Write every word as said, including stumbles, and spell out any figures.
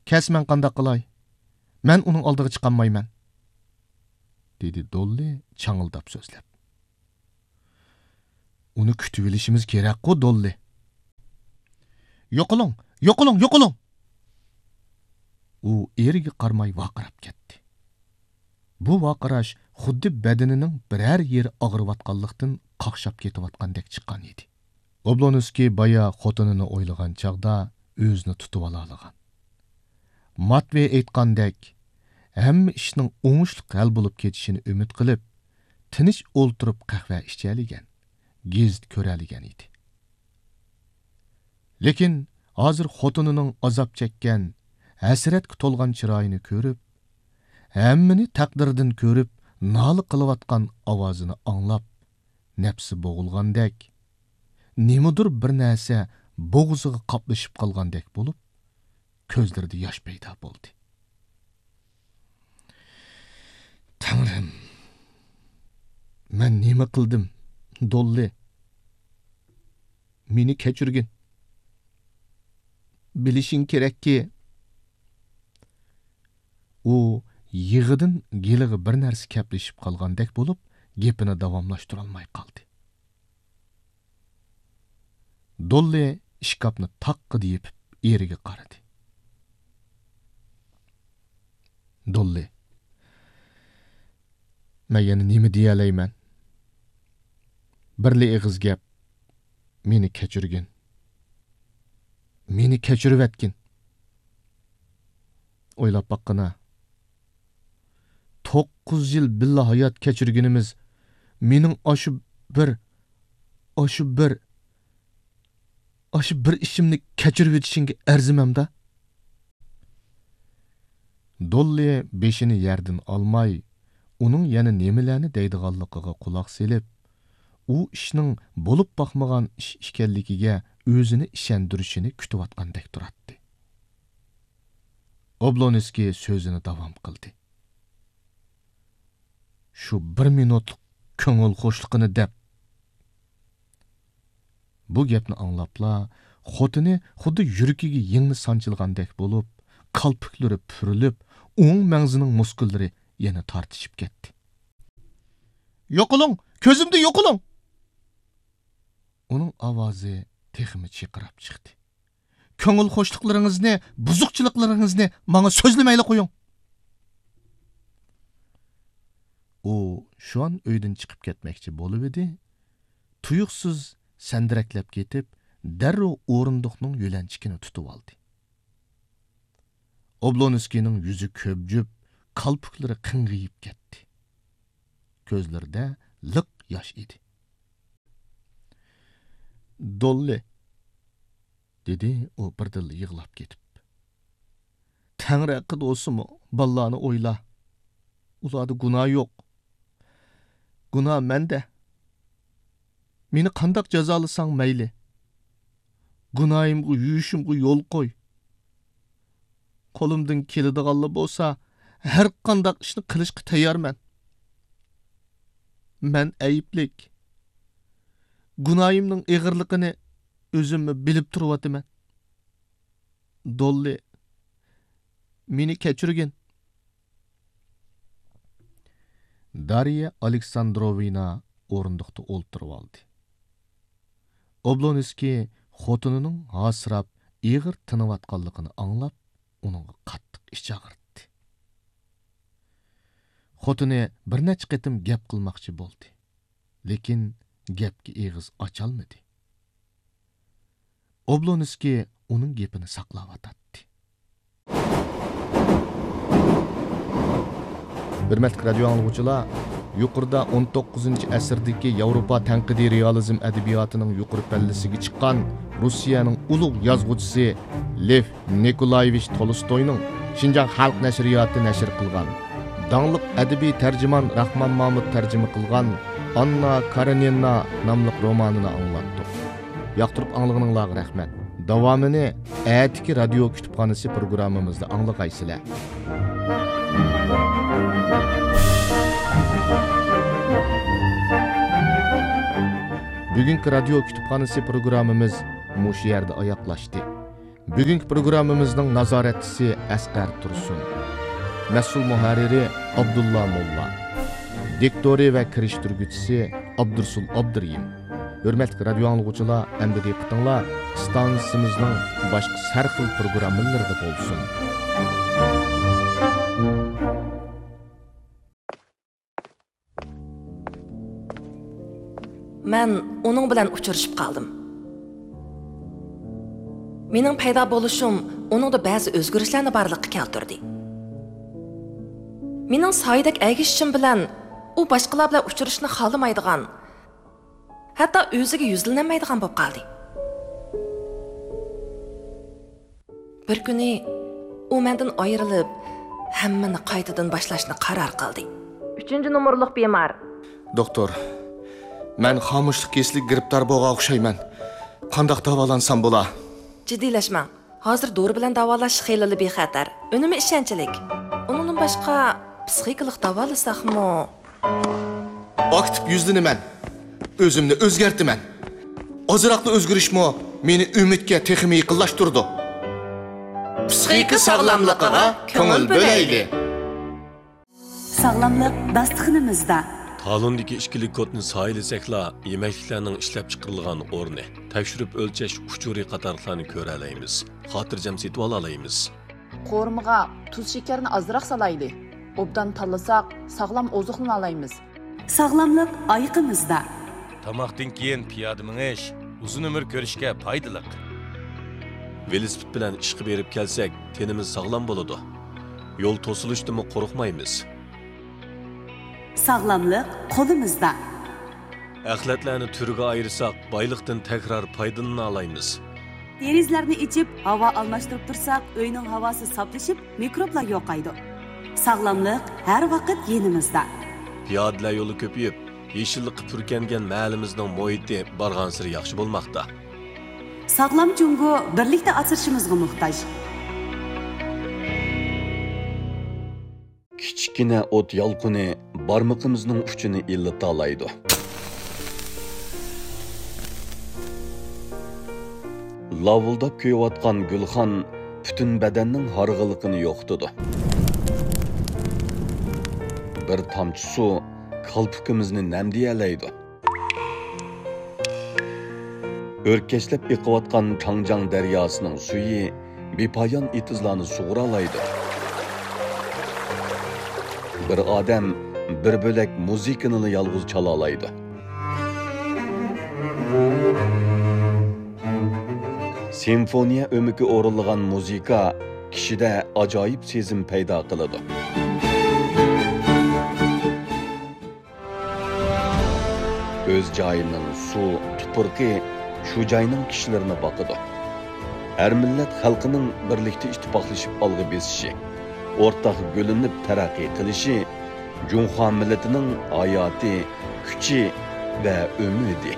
كەلسە مەن قانداق قىلاي؟ مەن ئۇنىڭ ئالدىغا چىقالمايمەن، دېدى دوللى چاڭىلداپ سۆزلەپ. ئۇنى كۈتۈۋېلىشىمىز كېرەكقۇ، دوللى. يوقىلىڭ، يوقىلىڭ، يوقىلىڭ! ئۇ ئېرىگە قارىماي ۋارقىراپ كەتتى. بۇ ۋارقىراش خۇددى بەدىنىنىڭ بىرەر يېرى ئاغرىۋاتقانلىقتىن قاقشاپ كېتىۋاتقاندەك چىققان ئىدى. ئوبلونسكىي بايا خوتۇنىنى ئويلىغان چاغدا ئۆزىنى تۇتۇۋالالىغان. ماتۋېي ئېيتقاندەك، ھەممە ئىشنىڭ ئوڭۇشلۇق ھەل بولۇپ كېتىشىنى ئۈمىد قىلىپ، تىنچ ئولتۇرۇپ قەھۋە ئىچەلىگەن، گېزىت كۆرەلىگەن ئىدى. لېكىن ھازىر خوتۇنىنىڭ ئازاب چەككەن، ھەسرەتكە تولغان چىرايىنى كۆرۈپ، ھەممىنى تەقدىردىن كۆرۈپ، نالە قىلىۋاتقان ئاۋازىنى ئاڭلاپ، نەپسى بوغۇلغاندەك، نېمىدۇر بىر نەرسە بوغۇزىغا قاپلىشىپ قالغاندەك بولۇپ، كۆزلىرىدە ياش پەيدا بولدى. تەڭرىم، مەن نېمە قىلدىم، دوللى؟ مېنى كەچۈرگىن. بىلىشىڭ كېرەككى، ئۇ يىغىدىن گېلىغا بىر نەرسە كەپلىشىپ قالغاندەك بولۇپ، گېپىنى داۋاملاشتۇرالماي قالدى. دوللى ئىشكاپنى تاققىدە يېپىپ، ئېرىگە قارىدى. دوللى، مەن يەنە نېمە دېيەلەيمەن؟ بىرلا ئېغىز گەپ، مېنى كەچۈرگىن. مېنى كەچۈرۈۋەتكىن. ئويلاپ باققىنا. توققۇز يىل بىللە ھايات كەچۈرگىنىمىز، مېنىڭ ئاشۇ بىر، ئاشۇ بىر، ئاشۇ بىر ئىشىمنى كەچۈرۈۋېتىشىڭگە ئەرزىمەمدا؟ دوللى بېشىنى يەردىن ئالماي، ئۇنىڭ يەنە نېمىلەرنى دەيدىغانلىقىغا قۇلاق سېلىپ، ئۇ ئىشنىڭ بولۇپ باقمىغان ئىش ئىكەنلىكىگە ئۆزىنى ئىشەندۈرۈشىنى كۈتۈۋاتقاندەك تۇراتتى. ئوبلونسكىي سۆزىنى داۋام قىلدى. شۇ بىر مىنۇتلۇق كۆڭۈل خۇشلۇقىنى دەپ. بۇ گەپنى ئاڭلاپلا، خوتۇنى خۇددى يۈرىكىگە يىڭنە سانچىلغاندەك بولۇپ، كالپۇكلىرى پۈرۈلۈپ، ئوڭ مەڭزىنىڭ مۇسكۇللىرى يەنە تارتىشىپ كەتتى. يوقىلىڭ! كۆزۈمدىن يوقىلىڭ! ئۇنىڭ ئاۋازى تېخىمۇ چىرقىراپ چىقتى. كۆڭۈل خۇشلۇقلىرىڭىزنى، بۇزۇقچىلىقلىرىڭىزنى ماڭا سۆزلىمەيلا قويۇڭ. ئۇ شۇئان ئۆيدىن چىقىپ كەتمەكچى بولۇۋىدى، تۇيۇقسىز سەندىرەكلەپ كېتىپ، دەررۇ ئورۇندۇقنىڭ يۆلەنچۈكىنى تۇتۇۋالدى. ئوبلونسكىينىڭ يۈزى كۆبجۈپ، كالپۇكلىرى قىڭغىيىپ كەتتى. كۆزلىرىدە لىق ياش ئىدى. دوللى، دېدى ئۇ بىردىنلا يىغلاپ كېتىپ. تەڭرى ھەققىدە بولسىمۇ، بالىلارنى ئويلا. ئۇلاردا گۇناھ يوق. گۇناھ مەندە. مېنى قانداق جازالىساڭ مەيلى. گۇناھىمغا، يۇيۇشۇمغا يول قوي. قولۇمدىن كېلىدىغانلا بولسا، ھەر قانداق ئىشنى قىلىشقا تەييارمەن. مەن ئەيىبلىك. گۇناھىمنىڭ ئېغىرلىقىنى ئۆزۈممۇ بىلىپ تۇرۇۋاتىمەن. دوللى، مېنى كەچۈرگىن. دارىيە ئالېكساندروۋنا ئورۇندۇقتا ئولتۇرۇۋالدى. ئوبلونسكىي خوتۇنىنىڭ ھاسىراپ، ئېغىر تىنىۋاتقانلىقىنى ئاڭلاپ، ئۇنىڭغا قاتتىق ئىچى ئاغرىدى. خوتۇنى بىر نەچچە قېتىم گەپ قىلماقچى بولدى، لېكىن گەپكە ئېغىز ئاچالمىدى. ئوبلونسكىي ئۇنىڭ گېپىنى ساقلاۋاتاتتى. ھۆرمەتلىك رادىيو ئاڭلىغۇچىلار، يۇقىرىدا ئون توققۇزىنچى ئەسىردىكى ياۋروپا تەنقىدىي رېئالىزم ئەدەبىياتىنىڭ يۇقىرى پەللىسىگە چىققان روسىيەنىڭ ئۇلۇغ يازغۇچىسى لېف نىكولايېۋىچ تولستوينىڭ شىنجاڭ خەلق نەشرىياتى نەشر قىلغان، داڭلىق ئەدەبىي تەرجىمان راخمان مامۇت تەرجىمە قىلغان ئاننا كارېنىنا ناملىق رومانىنى ئاڭلاتتۇق. ياقتۇرۇپ ئاڭلىغىنىڭلارغا رەھمەت. داۋامىنى ئەتىكى رادىيو كۇتۇپخانىسى پروگراممىمىزدا ئاڭلىغايسىلەر. بۈگۈنكى رادىيو كۇتۇپخانىسى پروگراممىمىز مۇشۇ يەردە ئاياغلاشتى. بۈگۈنكى پروگراممىمىزنىڭ نازارەتچىسى ئەسقەر تۇرسۇن. مەسئۇل مۇھەررىرى ئابدۇللا موللا. دىكتورى ۋە كىرىشتۈرگۈچىسى ئابدۇرسۇل ئابدۇرېھىم. ھۆرمەتلىك رادىيو ئاڭلىغۇچىلار، ئەمدى دىققىتىڭلار ئىستانسىمىزنىڭ باشقا سەرخىل پروگراممىلىرىدا بولسۇن. مەن ئۇنىڭ بىلەن ئۇچرىشىپ قالدىم. مېنىڭ پەيدا بولۇشۇم ئۇنىڭدا بەزى ئۆزگىرىشلەرنى بارلىققا كەلتۈردى. مېنىڭ سايىدەك ئەگىشىشىم بىلەن ئۇ باشقىلار بىلەن ئۇچرىشىشنى خالىمايدىغان، ھەتتا ئۆزىگە يۈزلىنەلمەيدىغان بولۇپ قالدى. بىر كۈنى ئۇ مەندىن ئايرىلىپ، ھەممىنى قايتىدىن باشلاشنى قارار قىلدى. ئۈچىنچى نومۇرلۇق بىمار. دوختۇر، مەن خامۇشلۇق كېسىلىگە گىرىپتار بولغان ئوخشايمەن. قانداق داۋالانسام بولا؟ جىددىيلەشمەڭ. ھازىر دورا بىلەن داۋالاش خېلىلا بىخەتەر، ئۈنۈمى ئىشەنچلىك. ئۇنىڭدىن باشقا، پسىخىكىلىق داۋالىساقمۇ؟ ئاكتىپ يۈزلىنىمەن. ئۆزۈمنى ئۆزگەرتىمەن. ئازراقلا ئۆزگىرىشمۇ مېنى ئۈمىدكە تېخىمۇ يېقىنلاشتۇرىدۇ. پسىخىكا ساغلاملىقىغا كۆڭۈل بۆلەيلى. ساغلاملىق داستىخىنىمىزدا. تالوندىكى ئىككىلىك كودنى سايىلىسەكلا، يېمەكلىكلەرنىڭ ئىشلەپچىقىرىلغان ئورنى، تەكشۈرۈپ ئۆلچەش ئۇچۇرى قاتارلىقلارنى كۆرەلەيمىز، خاتىرجەم سېتىۋالالايمىز. قورۇمىغا تۇز شېكەرنى ئازراق سالايلى. ئوبدان تاللىساق، ساغلام ئوزۇقلىنالايمىز. ساغلاملىق ئايىقىمىزدا. تاماقتىن كېيىن پىيادە مېڭىش ئۇزۇن ئۆمۈر كۆرۈشكە پايدىلىق. ۋېلىسىپىت بىلەن ئىشقا بېرىپ كەلسەك، تېنىمىز ساغلام بولىدۇ. يول توسۇلۇشتىنمۇ قورقمايمىز. ساغلاملىق قولىمىزدا. ئەخلەتلەرنى تۈرگە ئايرىساق، بايلىقتىن تەكرار پايدىلىنالايمىز. دېرىزىلەرنى ئېچىپ، ھاۋا ئالماشتۇرۇپ تۇرساق، ئۆينىڭ ھاۋاسى ساپلىشىپ، مىكروبلار يوقايدۇ. ساغلاملىق ھەر ۋاقىت يېنىمىزدا. پىيادىلەر يولى كۆپىيىپ، يېشىللىققا پۈركەنگەن مەھەللىمىزنىڭ مۇھىتى بارغانسېرى ياخشى بولماقتا. ساغلام جۇڭگو بىرلىكتە ئاسرىشىمىزغا موھتاج. كىچىككىنە ئوت يالقۇنى بارمىقىمىزنىڭ ئۇچىنى ئىللىتالايدۇ. لاۋۇلداپ كۆيۈۋاتقان گۈلخان پۈتۈن بەدەننىڭ ھارغىنلىقىنى يوقىتىدۇ. بىر تامچە سۇ كالپۇكىمىزنى نەمدىيەلەيدۇ. ئۆركەشلەپ ئېقىۋاتقان چاڭجياڭ دەرياسىنىڭ سۈيى بىپايان ئېتىزلارنى سۇغۇرالايدۇ. بىر ئادەم بىر بۆلەك مۇزىكىنىلا يالغۇز چالالايدۇ. سىمفونىيە ئۆمىكى ئورۇنلىغان مۇزىكا كىشىدە ئاجايىپ سېزىم پەيدا قىلىدۇ. ئۆز جايىنىڭ سۇ، تۇپرىقى شۇ جاينىڭ كىشىلىرىنى باقىدۇ. ھەر مىللەت خەلقىنىڭ بىرلىكتە ئىتتىپاقلىشىپ ئالغا بېسىشى، ئورتاق گۈللىنىپ تەرەققىي قىلىشى جۇڭخۇا مىللىتىنىڭ ھاياتى، كۈچى ۋە ئۈمىدى.